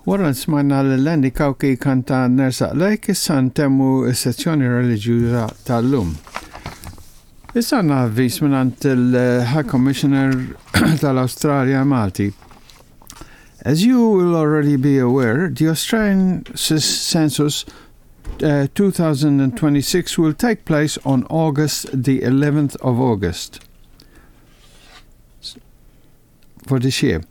Wara li smajna lil Andy Cauchi jkanta Nersaq Lejk, issa ntemmu s-sezzjoni reliġjuża tal-lum. Issa għandna avviż mingħand il-High Commissioner tal-Awstralja Malti. As you will already be aware, the Australian Census uh, 2026 will take place on August the 11th of August for this year.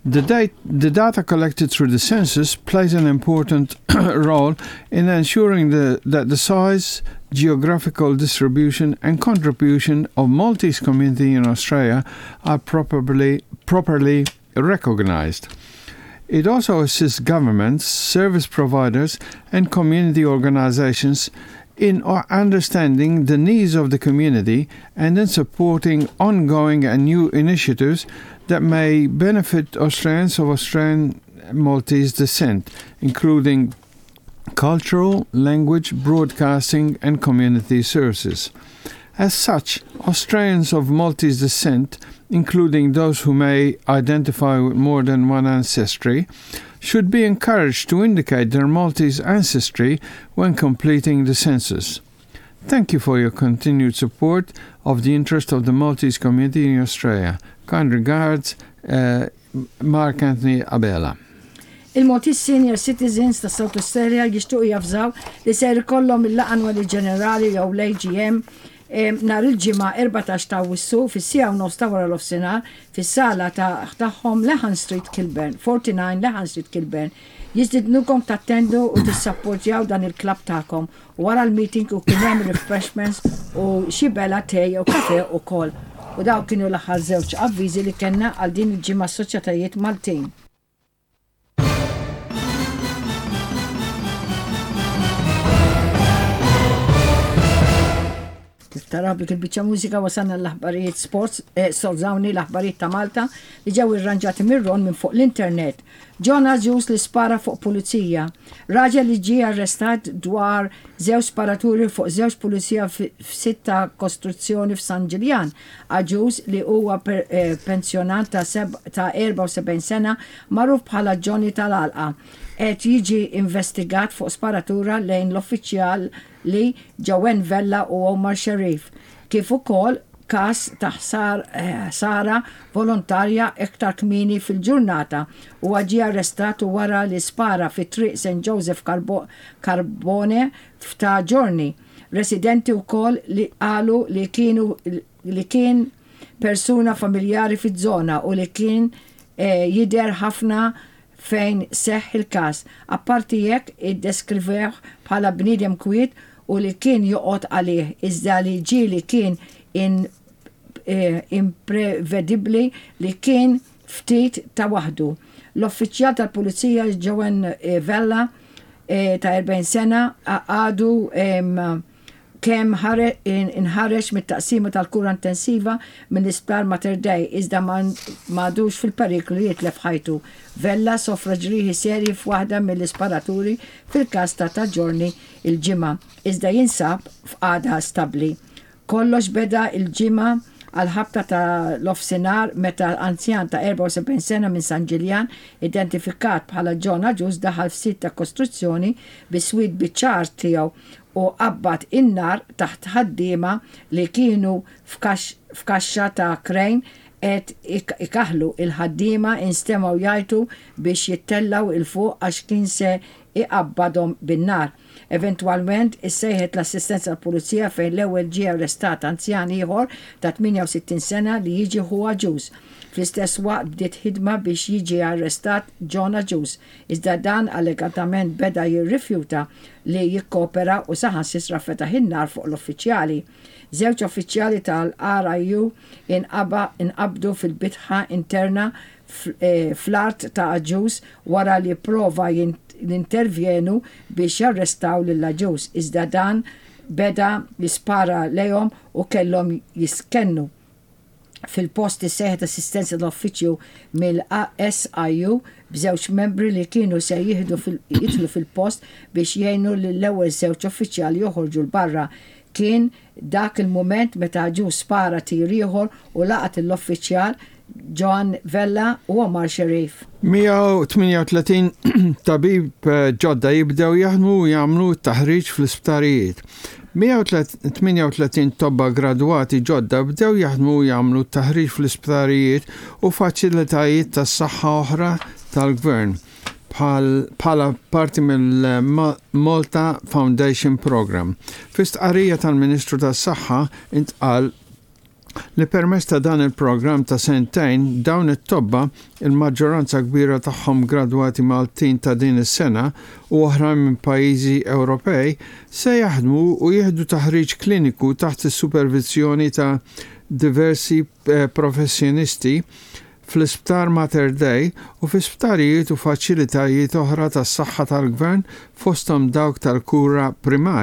The, date, the data collected through the census plays an important role in ensuring the, that the size, geographical distribution, and contribution of Maltese community in Australia are properly, properly recognized. It also assists governments, service providers, and community organizations in understanding the needs of the community and in supporting ongoing and new initiatives that may benefit Australians of Australian Maltese descent, including cultural, language, broadcasting, and community services. As such, Australians of Maltese descent, including those who may identify with more than one ancestry, should be encouraged to indicate their Maltese ancestry when completing the census. Thank you for your continued support of the interest of the Maltese community in Australia. Kind regards, uh, Mark Anthony Abela. Il-Maltese Senior Citizens ta' South Australia jixtiequ javżaw li ser ikollhom il-laqgħa annwali ġenerali jew l-AGM nhar il-Ġimgħa 14 ta' Awwissu fis-siegħa u nofs ta' wara nofsinhar fis-sala ta' tagħhom Lehan Street Kilburn, 49 Lehan Street Kilburn. Jistidnukom tattendu u tissapportjaw dan il-klabb tagħkom. Wara l-meeting u kien hemm refreshments u xi bela te jew kafe ukoll. U dawk kienu l-aħħar żewġ avviżi li kellna għal din il-ġimgħa soċjetajiet Maltin. Kif taraw dik il-biċċa mużika wasalna l-aħbarijiet sports, eh, sorżawni l-aħbarijiet ta' Malta li ġew irranġati mir-Ron minn fuq l-internet. John Agius li spara fuq pulizija. Raġel li ġie arrestat dwar żewġ sparaturi fuq żewġ pulizija f'sit ta' kostruzzjoni f'San Ġiljan. Agius li huwa eh, pensjonant ta' 74 sena magħruf bħala Johnny tal-Għalqa qed jiġi investigat fuq sparatura lejn l-uffiċjal li Joanne Vella u Omar Sharif, kif ukoll każ ta' ħsara volontarja iktar kmieni fil-ġurnata. Huwa ġie arrestat wara li spara fi Triq St Joseph Carbone f'Ta' Ġiorni. Residenti wkoll li qalu li kienu li kien persuna familjari fiż-żona u li kien jidher ħafna fejn seħħ il-każ. Apparti hekk iddeskrivewh bħala bniedem kwiet u li kien joqgħod għalih iżda li ġieli kien imprevedibbli li kien ftit ta' waħdu. L-uffiċjal tal-Pulizija Joanne Vella ta' 40 sena għadu kemm inħareġ mit-taqsima tal-kura intensiva mill-Isptar Mater Dei iżda m'għadux fil-periklu li jitlef ħajtu. Vella sofra ġrieħi serji f'waħda mill-isparaturi fil-każ ta' Ta' Ġiorni l-Ġimgħa iżda jinsab f'qagħda stabbli. Kollox beda l-Ġimgħa għall-ħabta ta' nofsinhar meta anzjan ta' 74 sena minn San Ġiljan identifikat bħala John Agius daħal f'sit ta' kostruzzjoni bi swied biċ-ċar tiegħu u qabbad in-nar taħt ħaddiema li kienu f'kaxxa ta' krejn qed ikaħħlu. Il-ħaddiema instemgħu jgħajtu biex jittellgħu 'l fuq għax kien se iqabbadhom bin-nar. Eventwalment issejħet l-assistenza tal-Pulizija fejn l-ewwel ġie arrestat anzjan ieħor ta' 68 sena li jiġi ħu Agius. Fl-istess waqt bdiet ħidma biex jiġi arrestat John Agius, iżda dan allegatament beda jirrifjuta li jikkopera u saħansitra fetaħ in-nar fuq l-uffiċjali. Żewġ uffiċjali tal-RIU inqabdu fil-bitħa interna fl-art ta' Agius wara li pprova jintervjenu biex jarrestaw lil Agius, iżda dan beda jispara lejhom u kellhom jistkennu. Fil-post issejħet assistenza tal-uffiċċju mill-SIU b'żewġ membri li kienu se jidħlu fil-post biex jgħinu lill-ewwel żewġ uffiċjali joħorġu 'l barra. Kien dak il-mument meta Agius spara tir ieħor u laqat lill-uffiċjal. Joan Vella u Omar Sharif. 138 tabib ġodda jibdew jaħdmu u jagħmlu t-taħriġ fl-isptarijiet. 138 tobba gradwati ġodda bdew jaħdmu u jagħmlu t-taħriġ fl-isptarijiet u faċilitajiet tas-saħħa oħra tal-Gvern bħala parti mill-Malta Foundation Programme. Fi stqarrija tal-Ministru tas-Saħħa intqal li permezz ta' dan il-programm ta' sentejn dawn it-tobba, il-maġġoranza kbira tagħhom gradwati Maltin ta' din is-sena u oħrajn minn pajjiżi Ewropej, se jaħdmu u jieħdu taħriġ kliniku taħt is-superviżjoni ta' diversi professjonisti fl-Isptar Mater Dei u fi sptarijiet u faċilitajiet oħra tas-saħħa tal-Gvern fosthom dawk tal-kura primarja.